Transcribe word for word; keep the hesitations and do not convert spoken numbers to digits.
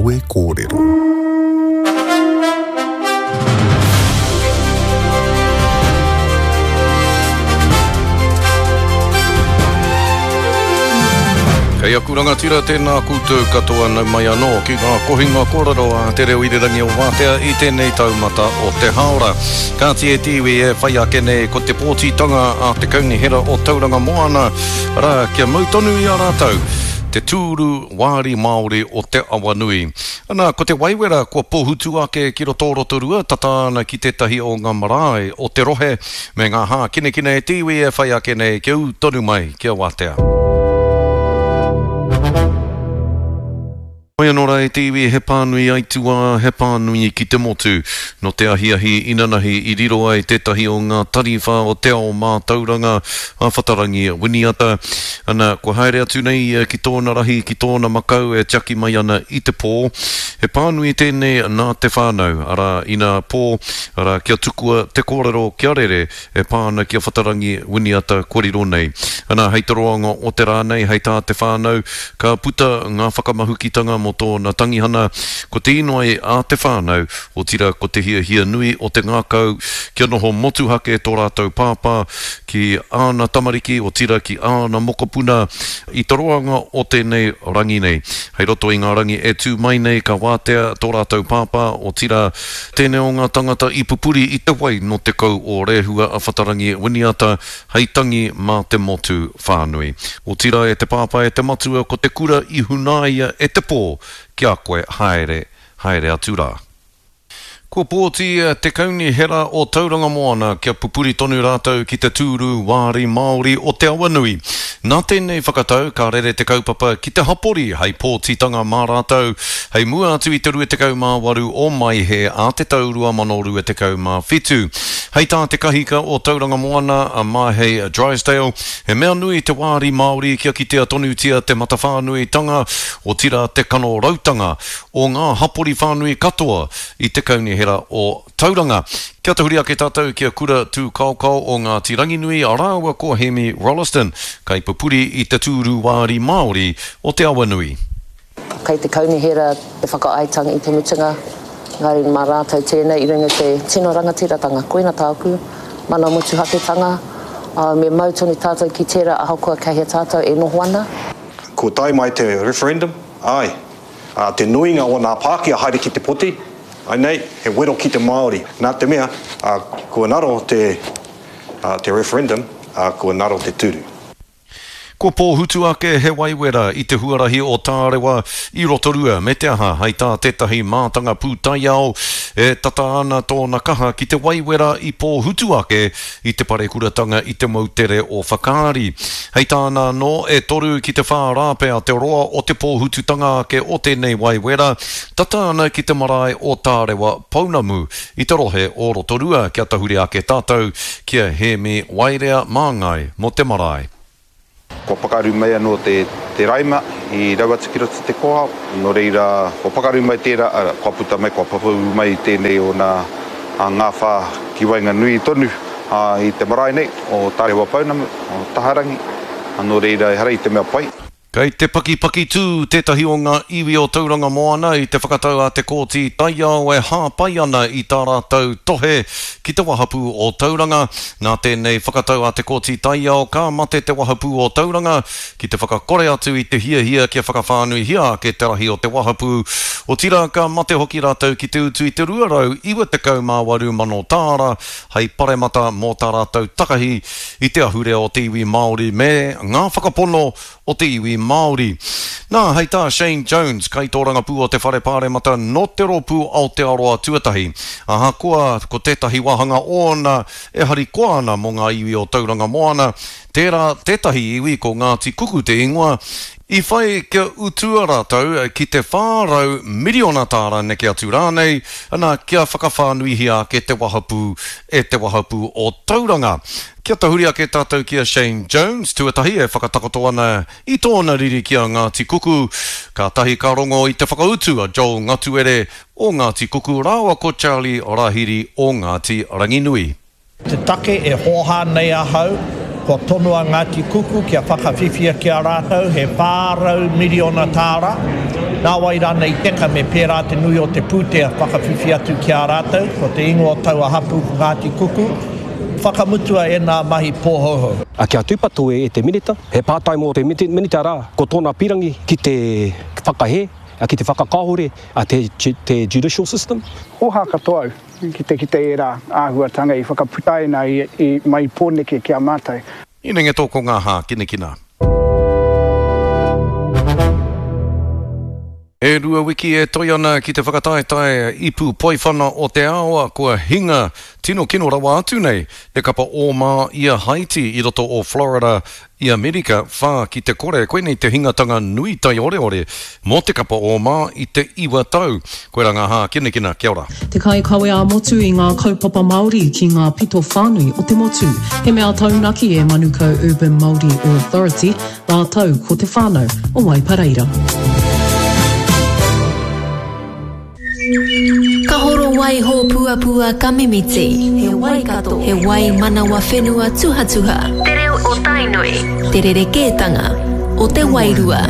Kawe Kōrero. Kei aku rangatira tēnā koutou katoa nau mai anō ki ngā kohinga kōrero a Te Reo Irirangi o Wātea i tēnei taumata o te haora. Kāti e te iwi e whai ake nei ko te pōtitanga a te Kaunihera o Tauranga Moana, arā kia mau tonu i a rātou te tūru wāri Māori o Te Awanui. Ana, ko te waiwera kua pohutu ake ki roto o Rotorua, tata ana ki tētahi o ngā marae o te rohe, me ngā hākinakina e te iwi e whai ake nei kia ū tonu mai kia wātea. Hoi anō rā e te iwi, he pānui aituā, he pānui ki te motu. No te ahiahi inanahi i riro ai tētahi o ngā tariwha o te ao mātauranga a Whatarangi Winiata. Ana, kua haere atu nei ia ki tōna rahi, ki tōna makau e tiaki mai ana i te pō. He pānui tēnei nā te whānau, arā, ina pō, arā, kia tukua te kōrero kia rere e pā ana ki a Whatarangi Winiata kua riro nei. Ana, hei te roanga o te rā nei, hei tā te whānau, ka puta ngā whakamahukitanga mō tōna tangihana, ko te inoi a te whānau, otira ko te hiahia nui o te ngākau, kia noho motuhake tō rātou pāpā ki āna tamariki, otira ki āna mokopuna i te roanga o tēnei rangi nei. Hei roto i ngā rangi e tū mai nei ka wātea tō rātou pāpā, otira tēnei o ngā tangata i pupuri i te wai no te kau o Rehua a Whatarangi Winiata hei tangi mā te motu whānui. Otira e te pāpā e te matua ko te kura i hunaia e te pō kia koe haere, haere atu rā. Kua pōti te Kaunihera o Tauranga Moana kia pupuri tonu rātou ki te tūru wāri Māori o Te Awanui. Nā tēnei whakatau ka rere te kaupapa ki te hapori hei pōtitanga mā rātou, hei mua atu i te rua tekau mā waru o Maihe a te tau rua mano rua tekau mā whitu. Hei tā te kahika o Tauranga Moana a Mahei Drysdale, he mea nui te wāri Māori kia kitea tonutia te matawhānuitanga, otira te kanorautanga o ngā hapori whānui katoa i te Kaunihera o Tauranga. Kia tahuri ake tātou ki a Kura Tūkaokao o Ngāti Ranginui, rāua ko Hemi Rolleston, kaipupuri i te tūru wāri Māori o Te Awanui. Kei te Kaunihera te whakaaetanga i te mutunga, ngāri mā rātou tēnei i runga te tino rangatiratanga. Koina tāku, mana motuhaketanga, me mau tonu tātou ki tērā ahakoa kei hea tātou e noho ana. Ko tae mai te referendum, ai, te nuinga o ngā Pākehā haere ki te poti, ai nei, he wero ki te Māori. Nā te mea, kua ngaro te, te referendum, kua ngaro te tūru. Kua pōhutu ake he waiwera i te huarahi o Tārewa i Rotorua, me te aha, hei tā tētahi mātanga pūtaiao, e tata ana tōna kaha ki te waiwera i pōhutu ake i te parekuratanga i te moutere o Whakaari. Hei tāna anō, e toru ki te whā rāpea te roa o te pōhututanga ake o tēnei waiwera, tata ana ki te marae o Tārewa Pounamu i te rohe o Rotorua, kia tahuri ake tātou ki a Hēmi Wairea Māngai mō te marae. Kua pakaru mai anō te, te raima i rau atu ki roto te koha, nō reira, kua pakaru mai tērā, ara, kua puta mai, kua papau mai tēnei o nā ngā whā ki waenganui tonu a, i te marae nei, o Tārewa Pounamu, o Taharangi, nō reira, ehara i te mea pai. Kei te pakipaki tū tētahi o ngā iwi o Tauranga Moana i te whakatau a te Kōti Taiao e hāpai ana i tā rātou tohe ki te wahapū o Tauranga. Nā tēnei whakatau a te Kōti Taiao ka mate te wahapū o Tauranga ki te whakakore atu i te hiahia kia whakawhānuihia ake te rahi o te wahapū. Otira ka mate hoki rātou ki te utu i te rua rau iwa tekau mā waru mano tāra hei paremata mō tā rātou takahi i te ahurea o te iwi Māori me ngā whakapono o te iwi Māori. Nā, hei tā Shane Jones, kaitōrangapū o te Whare Pāremata no te rōpū Aotearoa Tuatahi. Ahakoa ko tētahi wāhanga ōna e harikoa ana mō ngā iwi o Tauranga Moana, tērā tētahi iwi ko Ngāti Kuku te ingoa, i whai kia utua rātou ki te whā rau miriona tāra neke atu rānei, ana kia whakawhānuihia ake te wahapū e te wahapū o Tauranga. Kia tahuri ake tātou ki a Shane Jones, tuatahi e whakatakoto ana i tōna riri ki a Ngāti Kuku, ka tahi ka rongo i te whakautu a Joel Ngatuere o Ngāti Kuku rāua ko Charlie Rahiri o Ngāti Ranginui. Te take e hōhā nei ahau, kua tono a Ngāti Kuku kia whakawhiwhia ki a rātou he whā rau miriona tāra, Nā wai rānei teka me pērā te nui o te pūtea whakawhiwhi atu ki a rātou, ko te ingoa o taua hapū ko Ngāti Kuku, whakamutua e nā mahi pōhouhou. A kia tūpato e te minita, he pātai mō te minita rā, ko tōna pirangi ki te whakahē, ki te whakakāhore a te, te judicial system. Oha katoa au ki te kite ērā āhuatanga i whakaputaina i, i mai Pōneke ki a mātou. Inenge tō ko ngā hākinakina. E rua wiki e toi ana ki te whakataetae ipu poiwhana o te ao, kua hinga tino kino rawa atu nei te kapa ōma i a Haiti i roto o Florida i Amerika, whā ki te kore. Koinei te hingatanga nui taioreore mō te kapa ōma i te iwa tau. Koirā ngā hākinakina, kia ora. Te kaikawe ā-motu i ngā kaupapa Māori ki ngā pito whānui o te motu. He mea taunaki e Manukau Urban Māori Authority, rātou ko te whānau o Waipareira. Ka horo wai hōpuapua ka mimiti. He Waikato, he wai manawa whenua tuhatuha. Te reo o Tainui. Te rerekētanga o te wairua.